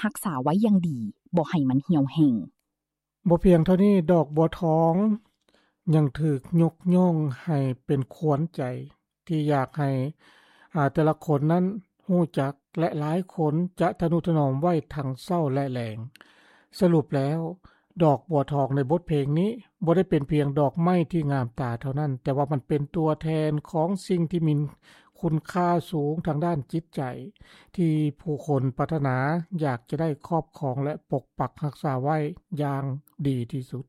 ຮັກສາໄວ້ຢ່າງດີ ບໍ່ໃຫ້ມັນຫ່ຽວແຫ້ງ. ບໍ່ພຽງເທົ່ານີ້, ດອກບົວທອງຍັງຖືກຍົກຍ້ອງໃຫ້ເປັນຂວັນໃຈ ທີ່ຢາກໃຫ້ ອາ ແຕ່ລະຄົນນັ້ນຮູ້ຈັກ ແລະ ຫຼາຍຄົນຈະທະນຸຖະໜອມໄວ້ທັງເຊົ້າ ແລະ ແລງ. ສະຫຼຸບແລ້ວ, ດອກບົວທອງໃນບົດເພງນີ້ບໍ່ໄດ້ເປັນພຽງດອກໄມ້ທີ່ງາມຕາເທົ່ານັ້ນ, ແຕ່ວ່າມັນເປັນຕົວແທນຂອງສິ່ງທີ່ມີຄຸນຄ່າສູງທາງດ້ານຈິດໃຈ ທີ່ຜູ້ຄົນປາດຖະໜາຢາກຈະໄດ້ຄອບຄອງ ແລະ ປົກປັກຮັກສາໄວ້ຢ່າງດີທີ່ສຸດ.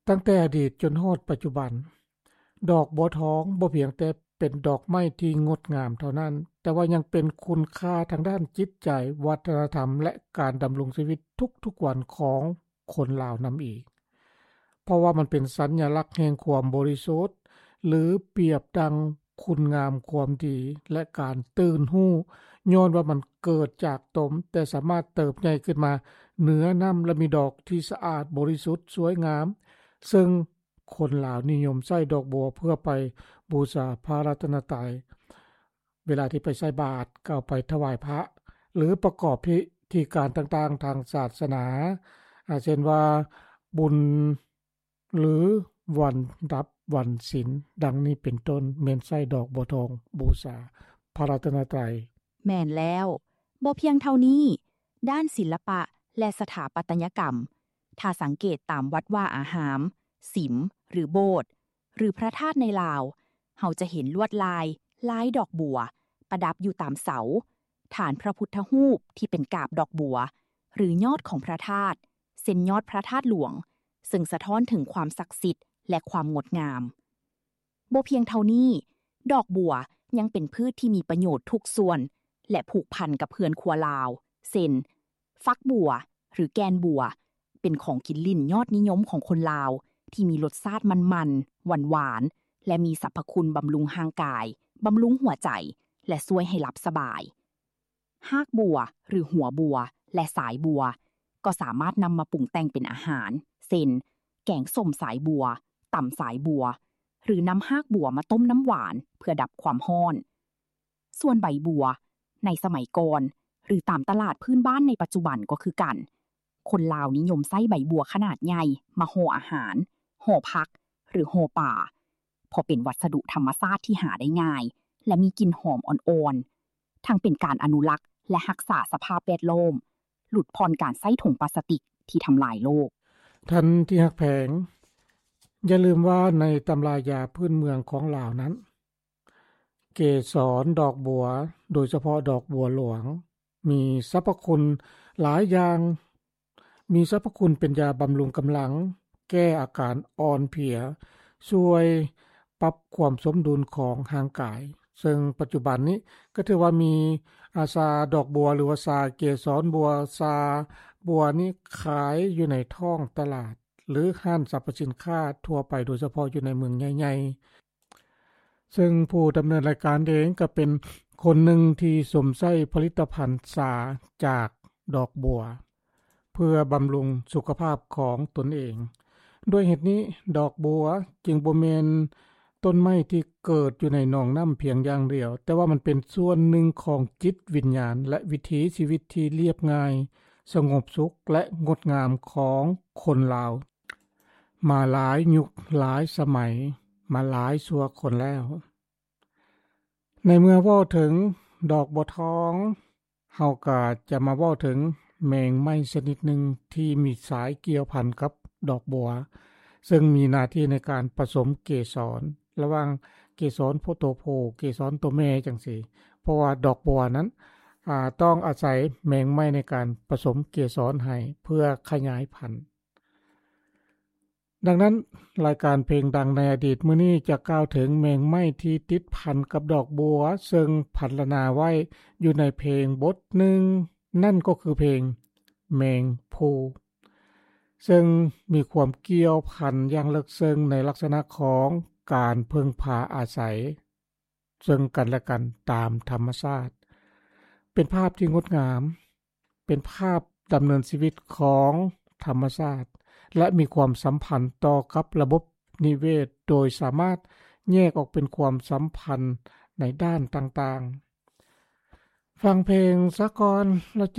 ຕັ້ງແຕ່ອະດີດຈົນຮອດປັດຈຸບັນ, ດອກບົວທອງບໍ່ພຽງແຕ່ເປັນດອກໄມ້ທີ່ງົດງາມເທົ່ານັ້ນ, ແຕ່ວ່າຍັງເປັນຄຸນຄ່າທາງດ້ານຈິດໃຈ, ວັດທະນະທຳ ແລະ ການດຳລົງຊີວິດທຸກໆວັນຂອງຄົນລາວນຳອີກ. ເພາະວ່າມັນເປັນສັນຍະລັກແຫ່ງຄວາມບໍລິສຸດ ຫຼື ປຽບດັ່ງຄຸນງາມຄວາມດີ ແລະ ການຕື່ນຮູ້, ຍ້ອນວ່າມັນເກີດຈາກຕົມ, ແຕ່ສາມາດເຕີບໃຫຍ່ຂຶ້ນມາເໜືອນ້ຳ ແລະ ມີດອກທີ່ສະອາດ, ບໍລິສຸດ, ສວຍງາມ, ເຊິ່ງຄົນລາວນິຍົມໃຊ້ດອກບົວເພື່ອໄປບູຊາພະລັດຕະນະໄຕ. ເວລາທີ່ໄປໃສ່ບາດ ກໍເອົາໄປຖວາຍພະ ຫຼື ປະກອບພິທີການຕ່າງໆທາງສາສະໜາ, ອາ ເຊັ່ນວ່າ ບຸນ ຫຼື ວັນດັບວັນສິນ ດັ່ງນີ້ເປັນຕົ້ນ, ແມ່ນໃຊ້ດອກບົວທອງບູຊາພະລັດຕະນະໄຕ. ແມ່ນແລ້ວ. ບໍ່ພຽງເທົ່ານີ້, ດ້ານສິລະປະ ແລະ ສະຖາປັດຕະຍະກຳ, ຖ້າສັງເກດຕາມວັດວາອາຮາມ, ສິມ ຫຼື ໂບດ ຫຼື ພະທາດໃນລາວ, ເຮົາຈະເຫັນລວດລາຍ, ລາຍດອກບົວ ປະດັບຢູ່ຕາມເສົາ, ຖານພະພຸດທະຮູບທີ່ເປັນກາບດອກບົວ ຫຼື ຍອດຂອງພະທາດ, ເຊັ່ນ ຍອດພະທາດຫຼວງ, ເຊິ່ງສະທ້ອນເຖິງຄວາມສັກສິດ ແລະ ຄວາມງົດງາມ. ບໍ່ພຽງເທົ່ານີ້, ດອກບົວຍັງເປັນພືດທີ່ມີປະໂຫຍດທຸກສ່ວນ ແລະ ຜູກພັນກັບເຮືອນຄົວລາວ, ເຊັ່ນ ຝັກບົວ ຫຼື ແກ່ນບົວ ເປັນຂອງກິນຫຼິ້ນຍອດນິຍົມຂອງຄົນລາວ ທີ່ມີລົດຊາດມັນໆ, ຫວານໆ ແລະ ມີສັບພະຄຸນບຳລຸງຮ່າງກາຍ, ບຳລຸງຫົວໃຈ ແລະ ຊ່ວຍໃຫ້ຫຼັບສະບາຍ. ຮາກບົວ ຫຼື ຫົວບົວ ແລະ ສາຍບົວ ກໍສາມາດນຳມາປຸງແຕ່ງເປັນອາຫານ, ເຊັ່ນ ແກງສົ້ມສາຍບົວ, ຕຳສາຍບົວ ຫຼື ນຳຮາກບົວມາຕົ້ມນ້ຳຫວານເພື່ອດັບຄວາມຮ້ອນ. ສ່ວນໃບບົວ ໃນສະໄໝກ່ອນ ຫຼື ຕາມຕະຫຼາດພື້ນບ້ານໃນປັດຈຸບັນກໍຄືກັນ, ຄົນລາວນິຍົມໃຊ້ໃບບົວຂະໜາດໃຫຍ່ມາຫໍ່ອາຫານ, ຫໍ່ຜັກ ຫຼື ຫໍ່ປາ, ເພາະເປັນວັດສະດຸທຳມະຊາດທີ່ຫາໄດ້ງ່າຍ ແລະ ມີກິ່ນຫອມອ່ອນໆ, ທັງເປັນການອະນຸລັກ ແລະ ຮັກສາສະພາບແວດລ້ອມ, ຫຼຸດຜ່ອນການໃຊ້ຖົງປາສະຕິກທີ່ທຳລາຍໂລກ. ທ່ານທີ່ຮັກແພງ, ຢ່າລືມວ່າໃນຕຳລາຢາພື້ນເມືອງຂອງລາວນັ້ນ, ເກສອນດອກບົວ, ໂດຍສະເພາະດອກບົວຫຼວງ, ມີສັບພະຄຸນຫຼາຍຢ່າງ, ມີສັບພະຄຸນເປັນຢາບຳລຸງກຳລັງ, ແກ້ອາການອ່ອນເພຍ, ຊ່ວຍປັບຄວາມສົມດຸນຂອງຮ່າງກາຍ, ເຊິ່ງປັດຈຸບັນນີ້ກໍຖືວ່າມີ ອາ ຊາດອກບົວ ຫຼືວ່າຊາເກສອນບົວ, ຊາບົວນີ້ຂາຍຢູ່ໃນທ້ອງຕະຫຼາດ ຫຼື ຮ້ານສັບພະສິນຄ້າທົ່ວໄປ, ໂດຍສະເພາະຢູ່ໃນເມືອງໃຫຍ່ໆ. ເຊິ່ງຜູ້ດຳເນີນລາຍການເອງກໍເປັນຄົນໜຶ່ງທີ່ຊົມໃຊ້ຜະລິດຕະພັນຊາຈາກດອກບົວ ເພື່ອບຳລຸງສຸຂະພາບຂອງຕົນເອງ. ດ້ວຍເຫດນີ້, ດອກບົວຈຶ່ງບໍ່ແມ່ນຕົ້ນໄມ້ທີ່ເກີດຢູ່ໃນໜອງນ້ຳພຽງຢ່າງດຽວ, ແຕ່ວ່າມັນເປັນສ່ວນໜຶ່ງຂອງຈິດວິນຍານ ແລະ ວິຖີຊີວິດທີ່ລຽບງ່າຍ, ສະຫງົບສຸກ ແລະ ງົດງາມຂອງຄົນລາວ ມາຫຼາຍຍຸກຫຼາຍສະໄໝ, ມາຫຼາຍຊົ່ວຄົນແລ້ວ. ໃນເມື່ອເວົ້າເຖິງດອກບົວທອງ, ເຮົາກໍຈະມາເວົ້າເຖິງແມງໄມ້ຊະນິດໜຶ່ງທີ່ມີສາຍກ່ຽວພັນກັບດອກບົວ, ເຊິ່ງມີໜ້າທີ່ໃນການປະສົມເກສອນ ລະຫວ່າງເກສອນໂພ ໂຕຜູ້, ເກສອນໂຕແມ່ຈັ່ງຊີ້, ເພາະວ່າດອກບົວນັ້ນ, ອາ, ຕ້ອງອາໄສແມງໄມ້ໃນການປະສົມເກສອນໃຫ້ເພື່ອຂະຫຍາຍພັນ. ດັ່ງນັ້ນ, ລາຍການເພງດັງໃນອະດີດມື້ນີ້ຈະກ່າວເຖິງແມງໄມ້ທີ່ຕິດພັນກັບດອກບົວ, ເຊິ່ງພັນລະນາໄວ້ຢູ່ໃນເພງບົດໜຶ່ງ, ນັ້ນກໍຄືເພງແມງພູ, ເຊິ່ງມີຄວາມກ່ຽວພັນຢ່າງເລິກເຊິ່ງໃນລັກສະນະຂອງການເພິ່ງພາອາໄສ ເຊິ່ງກັນແລະກັນຕາມທຳມະຊາດ. ເປັນພາບທີ່ງົດງາມ, ເປັນພາບດຳເນີນຊີວິດຂອງທຳມະຊາດ ແລະ ມີຄວາມສຳພັນຕໍ່ກັບລະບົບນິເວດ ໂດຍສາມາດແຍກອອກເປັນຄວາມສຳພັນໃນດ້ານຕ່າງໆ. ຟັງເພງສາກ່ອນ ແລ້ວ